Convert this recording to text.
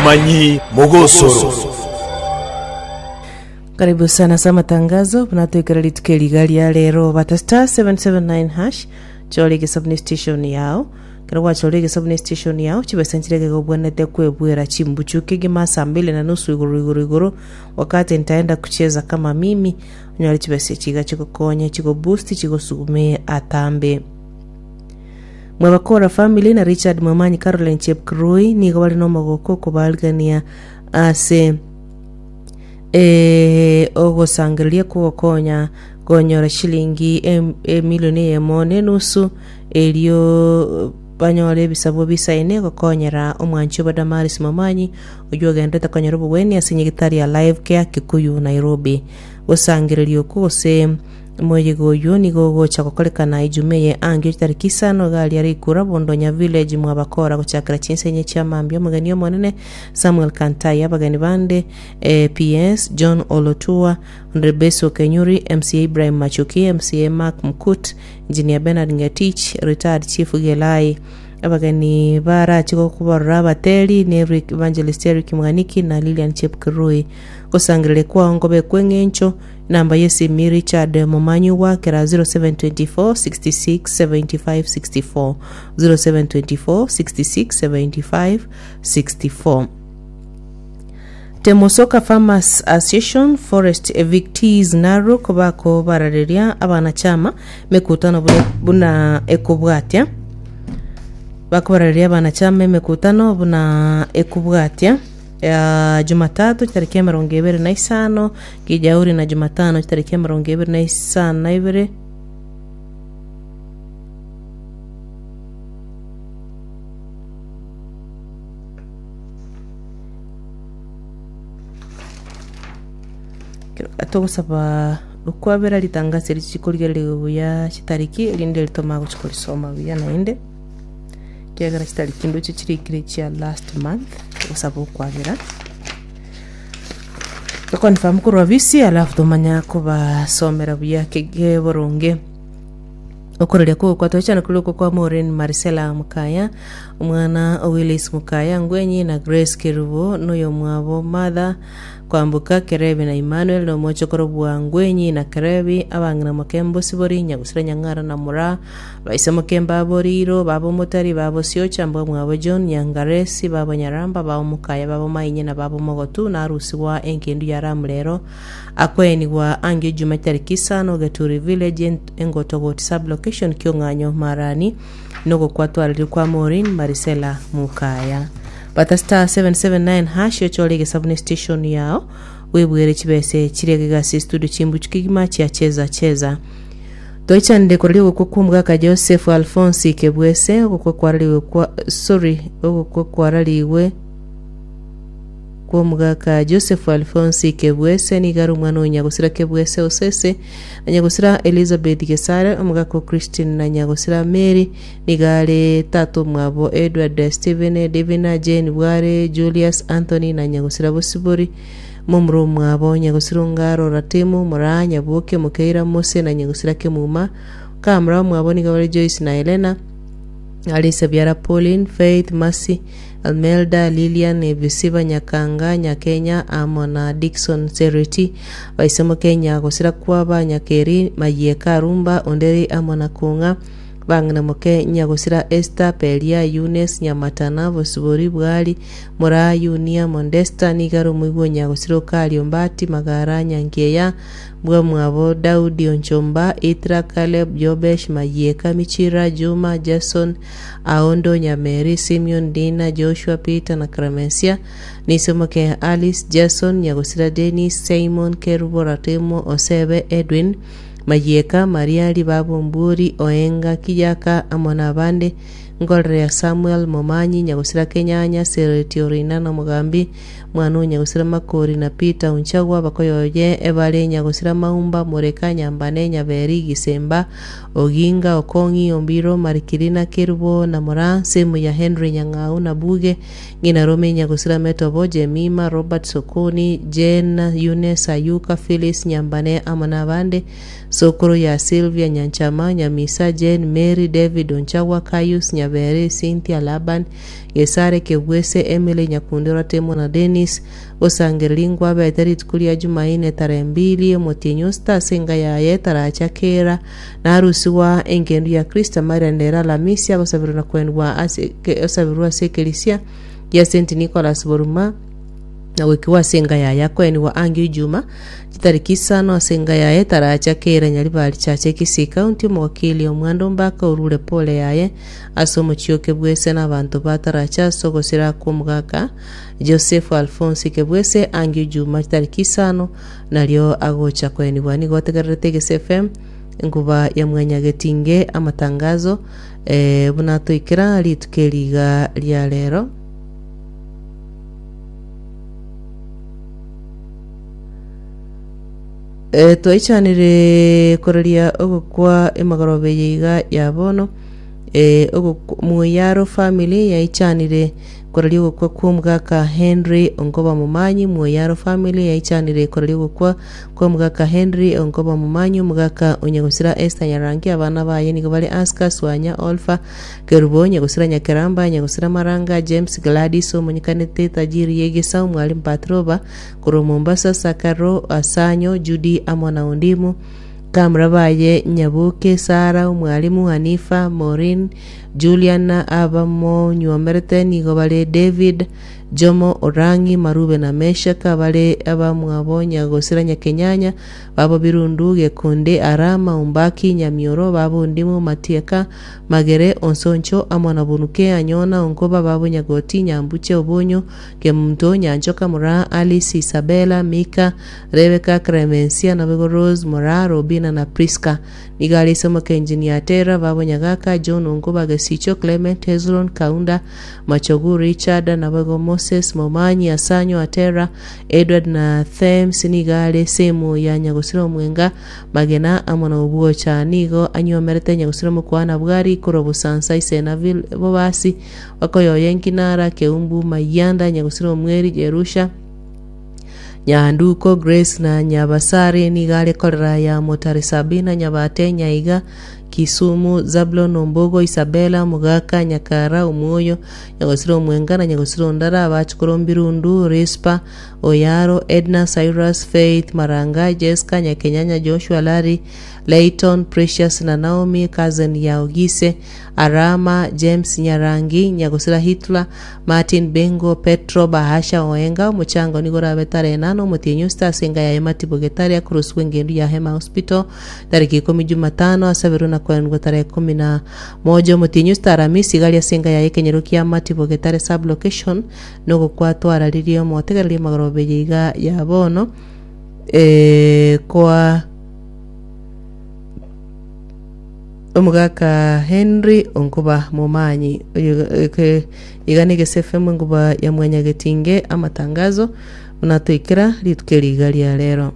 Omomanyi mogosoro. Karibu sana ase amatangazo buna toikera rituko eri iga ria rero bata star 779 hash chora egesabuni station yao ekero gwachorire egesabuni station yao chibesa nchire ekero obwenerete kwebwera chimbuchu kegima saa mbili na nusu igoro igoro igoro wakati nitaenda kucheza kama mimi onyore chibesa echi iga chigokonye chigoboost chigosugume atambe Mwebakora family na Richard Mwamanyi Caroline Chepkirui nigo bare nomogoko okobarigania ase eh, ogosangereria kw'ogokonya konyora shilingi em- emilioni eyemo na enusu erio banyore ebisabwa bisaine gokonyera omwanchi obo Damaris Momanyi oyio ogenderete konyora obogwenia ase nyagetari ya Life Care Kikuyu Nairobi. Gosangereria okwo gose Omoyega oyio nigo ogocha gokorekana Ijuma eye angio chitariki isano iga aria rikura Bondonya Village mwabakora gochakera chinsa inye chia mambia omogeni omonene Samuel Kantai abageni bande eh, PS John Olotua Honourable Okenyuri MCA Ibrahim Machuki MCA Mark Mkut Engineer Bernard Ngetich Retired Chief Gelai Abageni barache gokobarora abateri ne Eric Evangelist Eric Mwaniki na Lilian Chepkirui Gosangereria kwao nkobe kw'eng'encho Namba y'esimi Richard Momanyi gwakera 0724 66 75 64 0724 66 75 64 Temosoka Farmers Association Forest Evictees Narok bakobarareria abanachama emekutano buna, buna ekobwatia bakobarareria abanachama emekutano buna ekobwatia Ya Jumatatu chitariki emerongo ebere na isano, Kijauri na Jumatano chitariki emerongo ebere na isano na ibere. Togosaba okwabera ritangasi eri chikorigereria buya chitariki erinde ritoma gochia korisoma buya naende. Ekiagera chitariki ndoche chirikire chia last month, togosaba okwabera. Toconfirm korwa bisi alafu tomanya kobasomera buya kege boronge. Okoreria kogokwa tochana kore okwo kwa Maureen Marisela Mukaya, omwana o Willis Mukaya Ngwenyi na Grace Kerubo na oyomwabo Martha Kwamboka Kerebi na Emmanuel na omochokoro bwa Ngwenyi na Kerebi, abang'ina Mokembo Sibori, Nyagusira Nyang'ara na Moraa, Baise mokemba abo riiro, baba omotari, baba osiocha, mbwa mwabo John, Nyangaresi, baba Nyaramba, baba omokaya, baba omainye na baba omogotu, narusigwa engendu ya Ramu rero, akoenigwa angio Juma chitariki isano, Geturi Village, Engotogoti Sub-location, Kiong'anyo, Marani, nogokwatwareria kwa Maureen Marisela Mukaya. Bata *779# ochore egesabu ne station yao, bwebwere chibese chiria gegasi studio chimbuchu kegima chia cheza cheza. Toichanire koraria ogokwa kw'omogaka Joseph Alphonse Kebwese, ogokwa kwararigwe kwa sorry, ogokwa kwararigwe kw'omogaka Joseph Alphonse Kebwese nigo are omwana o Nyagosira Kebwese Osese na Nyagosira Elizabeth Gesare, omogaka o Christine na Nyagosira Mary, nigo are tata omwabo Edward Stephen, Divina, Jane Bware, Julius, Anthony na Nyagosira Bosibori. Momura omwabo, nyagosira Ongaro, Ratemu, Moraa, Nyaboke, Mokeira, Mose, na nyagosira Kemuma. Kamura omwabo nigo bare Joyce na Helena, are ise biara Pauline, Faith, Mercy, Almelda, Lilian, Ebisiba, Nyakanga, Nyakenya, amo na Dickson Sereti. Baise moke nyagosira kwaba Nyakeri, Mayieka, Arumba, Onderi amo na Kong'a. Bang'ina moke nyagosira Esther, Peria, Eunice, Nyamatana, Bosibori, Bwari, Moraa, Yunia, Mondesta, nigo are omoigwa o nyagosira Okaria, Ombati, Magara, Nyankieya, Mbwamwabo, Daudi, Onchomba, Itra, Caleb, Jobesh, Mayieka, Michira, Juma, Jason, Aondo, Nyameri, Simeon, Dina, Joshua, Peter na Clemencia, Niso moke Alice, Jason, nyagosira Dennis, Simon, Kerubo, Ratemo, Osebe, Edwin, Mayieka, Mariari, baba Ombuori, Oenga, Kiyaka, amo nabande, Nkorere ya Samuel, Momanyi, Nyagosira Kenyanya, Sereti Orina na Omogambi, mwana o Nyagosira Makori na Peter Onchagwa, abakoyoye ebare Nyagosira Maumba, Moreka, Nyambane, Nyaberi, Gisemba, Oginga, Okong'i, Ombiro, Marikirina, Kerubo na Moraa, Semu ya Henry Nyang'au na Buge, Ng'ina Rome, Nyagosira Metobo, Jemima, Robert Sokoni, Jane, Eunice, Ayuka, Phyllis, Nyambane amo nabande, Sokoro ya Sylvia, Nyanchama, Nyamisa, Jane, Mary, David, Onchagwa, Caius, Nyaberi. Nyabere, Cynthia, Laban, Gesare, Kebwese, Emily, Nyakundi, Oratemo na Dennis, Gosangereria nkwabete rituko ria Jumaine tarehe mbili omotienyi o sita ase enka yaye taracha kera narusigwa engendu ya Kristo amairane ere Alamisi agosabirwa na koenigwa ase osabirwe ase ekerisia gia St. Nicholas Boruma na goikigwa ase enka yaye akoenigwa angio Ijuma chitariki isano ase enka yaye taracha kera Nyaribari Church Kisii County omogokili omwando mbaka orure pole yaye ase omochie o Kebwese na abanto ba Taracha ase ogosira kw'omogaka Joseph Alphonse Kebwese angio Ijuma chitariki isano nario agocha koenigwa. Nigo otegererete Egese FM enkuba ya Mwanyagetinge amatangazo eh, buna toikera rituko eri iga ria rero. Eh, twaichanire koraria ogokwa emagoroba eye iga ya bono eh, ogokwa Moyaro family yaichanire Koraria ogokwa kw'omogaka Henry Onkoba Momanyi, Mwoyaro family yaichanire koraria ogokwa kw'omogaka Henry Onkoba Momanyi, omogaka o Nyagosira Esther Nyarangi, abana baye nigo bare Aska, Swanya, Olfa, Kerubo, Nyagosira Nyakeramba, Nyagosira Maranga, James, Gladys, omonyekanete Tajiri y'Egesa, Omwalimu Patroba, korwa Mombasa, Sakaro, Asanyo, Judy amo na Ondimu. Kamura baye Nyaboke, Sara, Omwalimu, Hanifa, Maureen, Julian na abamonyuomerete nigo bare David, Jomo, Orang'i, Marube na Meshaka, abare abamwabo Nyagosira Nyakenyanya, babo Birundu, Gekonde, Arama, Ombaki, Nyamioro, babo Ondimu, Matieka, Magere, Onsoncho, amo na Bonuke, Anyona, Onkoba, babo Nyagoti, Nyambuche, Obonyo, Kemunto, Nyanchoka, Moraa, Alice, Isabella, Mika, Rebecca, Clemencia, naboigo Rose, Moraa, Robina na Prisca. Nigo are ise omokenjinia Tera, babo Nyagaka, John Onkuba, Gesicho, Clement, Hezron, Kaunda, Machogu, Richard, naboigo Moses, Momanyi, Asanyo, Atera, Edward na Thames. Nigo are esemo ya Nyagosira Omwenga, Magena, amo na Obwocha. Nigo anyuomerete Nyagosira Omokwana Bwari korwa Bosansa, Isena, Bobasi, Bakoyoye, Nkinara, Keumbu, Mayianda, Nyagosira Omweri, Jerusha, Nyanduko, Grace na Nyabasare nigo are korera ya Motari Sabina, Nyabate, Nyaiga, Kisumu, Zablon, Ombogo, Isabella, Omogaka, Nyakara, Omwoyo, Nyagosira Omwenga na Nyagosira Ondara, abachukuru Mbirundu, Rispa, Oyaro, Edna, Cyrus, Faith, Maranga, Jesca, Nyakenyanya, Joshua, Larry, Layton, Precious na Naomi, cousin ya Ogise, Arama, James Nyarangi, Nyagosira Hitler, Martin Bengo, Petro, Bahasha Oenga, omochango nigo orabe tarehe nane omotienyi osita ase enka yaye Matibo Getare akorosigwa engendu ya Hema Hospital tariki ikomi Jumatano asaberwe na koenigwa tarehe ikomi na moja omotienyi osita Aramisi iga aria ase enka yaye ekenyoro kia Matibo Getare sub location nogokwa twararirie omotegereria amagoroba eye iga ya bono eh, koa Omogaka Henry Onkuba Momanyi oyo eke iga negese FM enkuba ya mwanyagetinge amatangazo buna toikera rituko eri iga ria rero.